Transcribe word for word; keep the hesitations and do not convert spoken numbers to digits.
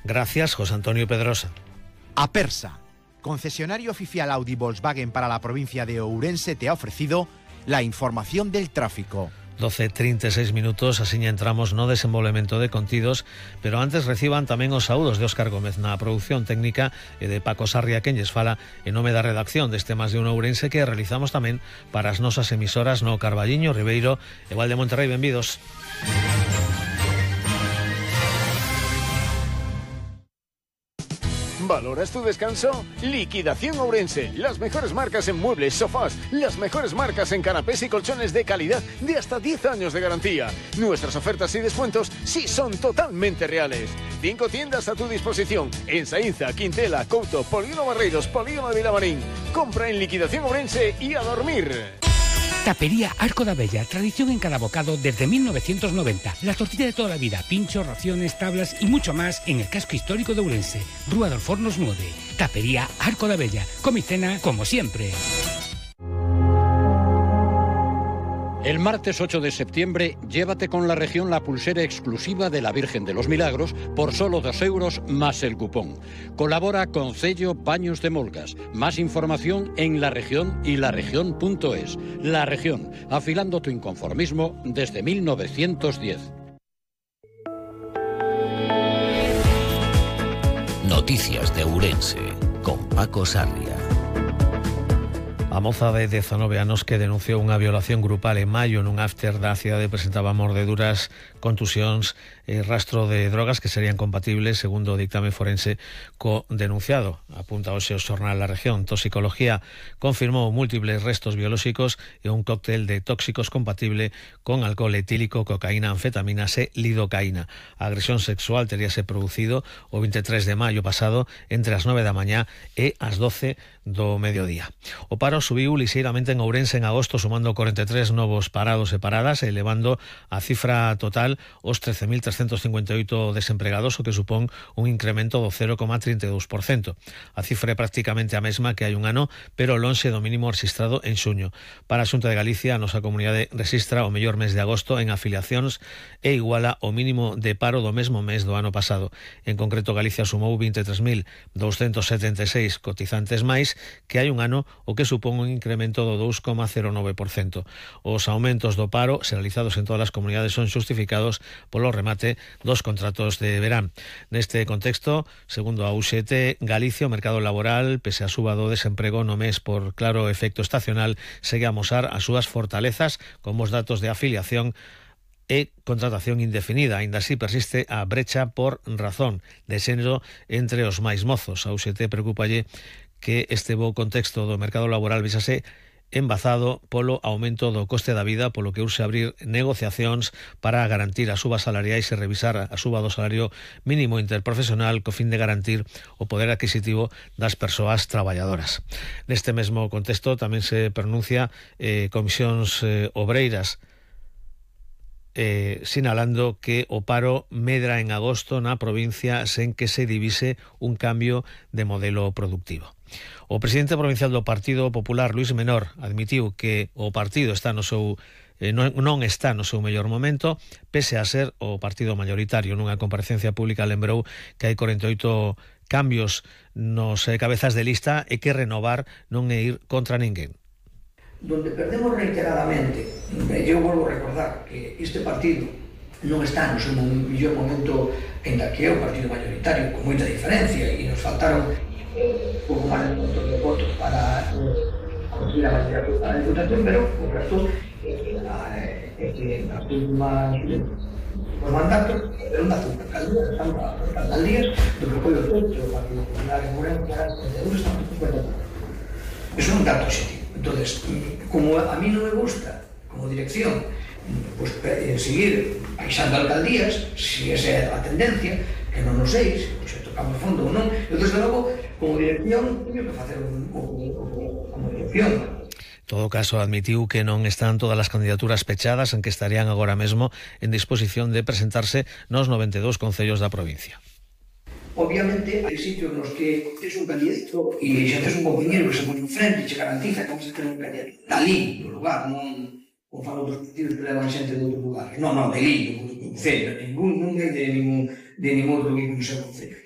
Gracias, José Antonio Pedrosa. Apersa, concesionario oficial Audi Volkswagen para la provincia de Ourense, te ha ofrecido la información del tráfico. doce e trinta e seis minutos, así entramos no desenvolvemento de contidos, pero antes reciban tamén os saúdos de Óscar Gómez na produción técnica e de Paco Sarria, quen lles fala en nome da redacción deste Más de un Ourense que realizamos tamén para as nosas emisoras no Carballiño, Ribeiro e Val de Monterrey. Benvidos. ¿Valoras tu descanso? Liquidación Ourense. Las mejores marcas en muebles, sofás, las mejores marcas en canapés y colchones de calidad de hasta diez años de garantía. Nuestras ofertas y descuentos sí son totalmente reales. Cinco tiendas a tu disposición en Saínza, Quintela, Couto, Polígono Barreiros, Polígono de Vilamarín. Compra en Liquidación Ourense y a dormir. Tapería Arco da Bella, tradición en cada bocado desde mil novecientos noventa. La tortilla de toda la vida, pinchos, raciones, tablas y mucho más en el casco histórico de Ourense. Rúa dos Fornos nueve. Tapería Arco da Bella. Come y cena como siempre. El martes ocho de septiembre, llévate con La Región la pulsera exclusiva de la Virgen de los Milagros por solo dos euros más el cupón. Colabora con Cello Paños de Molgas. Más información en La Región y laregión punto es. La Región, afilando tu inconformismo desde mil novecientos diez. Noticias de Ourense, con Paco Sarria. A moza de dezanove anos que denunciou unha violación grupal en maio nun after da cidade presentaba mordeduras, contusións e rastro de drogas que serían compatibles, segundo o dictame forense, co denunciado. Apunta hoxe o xornal La Región. Toxicología confirmou múltiples restos biolóxicos e un cóctel de tóxicos compatible con alcohol etílico, cocaína, anfetaminas e lidocaína. A agresión sexual teríase producido o veintitrés de maio pasado entre as nove da mañá e as doce do mediodía. O paro subiu lixeiramente en Ourense en agosto, sumando cuarenta e tres novos parados e paradas, elevando a cifra total os trece mil trescentos cincuenta e oito desempregados, o que supón un incremento do cero coma trinta e dous por cento. A cifra é prácticamente a mesma que hai un ano, pero lonxe do mínimo rexistrado en xuño. Para a Xunta de Galicia, a nosa comunidade rexistra o mellor mes de agosto en afiliacións e iguala o mínimo de paro do mesmo mes do ano pasado. En concreto, Galicia sumou vinte e tres mil douscentos setenta e seis cotizantes máis que hai un ano, o que supón un incremento do dous coma cero nove por cento. Os aumentos do paro realizados en todas as comunidades son xustificados polo remate dos contratos de verán. Neste contexto, segundo a U X T, Galicia, o mercado laboral, pese a suba do desemprego no mes por claro efecto estacional, segue a amosar as súas fortalezas como os datos de afiliación e contratación indefinida. Ainda así persiste a brecha por razón de xénero entre os máis mozos. A U X T preocupalle que este bo contexto do mercado laboral vexase embazado polo aumento do coste da vida, polo que urxe abrir negociacións para garantir as subas salariais e revisar a suba do salario mínimo interprofesional co fin de garantir o poder adquisitivo das persoas traballadoras. Neste mesmo contexto tamén se pronuncia eh, comisións eh, obreiras Eh, sinalando que o paro medra en agosto na provincia sen que se divise un cambio de modelo productivo. O presidente provincial do Partido Popular, Luís Menor, admitiu que o partido está no seu eh, non, non está no seu mellor momento, pese a ser o partido mayoritario. Nunha comparecencia pública lembrou que hai cuarenta e oito cambios nos eh, cabezas de lista e que renovar non é ir contra ninguén. Donde perdemos reiteradamente, eu volvo a recordar que este partido non está no seu mellor momento, en que é o partido mayoritario, con moita diferencia, e nos faltaron un pouco máis de montón de votos para conseguir a mayoría da Diputación, pero o resto é que nas últimas os mandatos eran das alcaldías, estamos a alcaldías do que foi o centro, o Partido Popular en Ourense, estamos a cincuenta por ciento. Eso non dá positivo. Entonces, como a mí non me gusta, como dirección, pues, seguir baixando alcaldías, si esa é a tendencia, que non nos sei, se pues, tocamos fondo ou non, eu, desde logo, como dirección, teño que facer un, un, un, como dirección. En todo caso, admitiu que non están todas as candidaturas pechadas, en que estarían agora mesmo en disposición de presentarse nos noventa e dous concellos da provincia. Obviamente, hai sitios nos que tes un candidato e xa tes un compañero que se pone en frente e che garantiza que vamos a tener un candidato dali, do lugar, non como fan outros partidos que levan xente de outros lugares. Non, non, de ali, do concello, ningún, non é de ningún, de ningún outro que non se concello.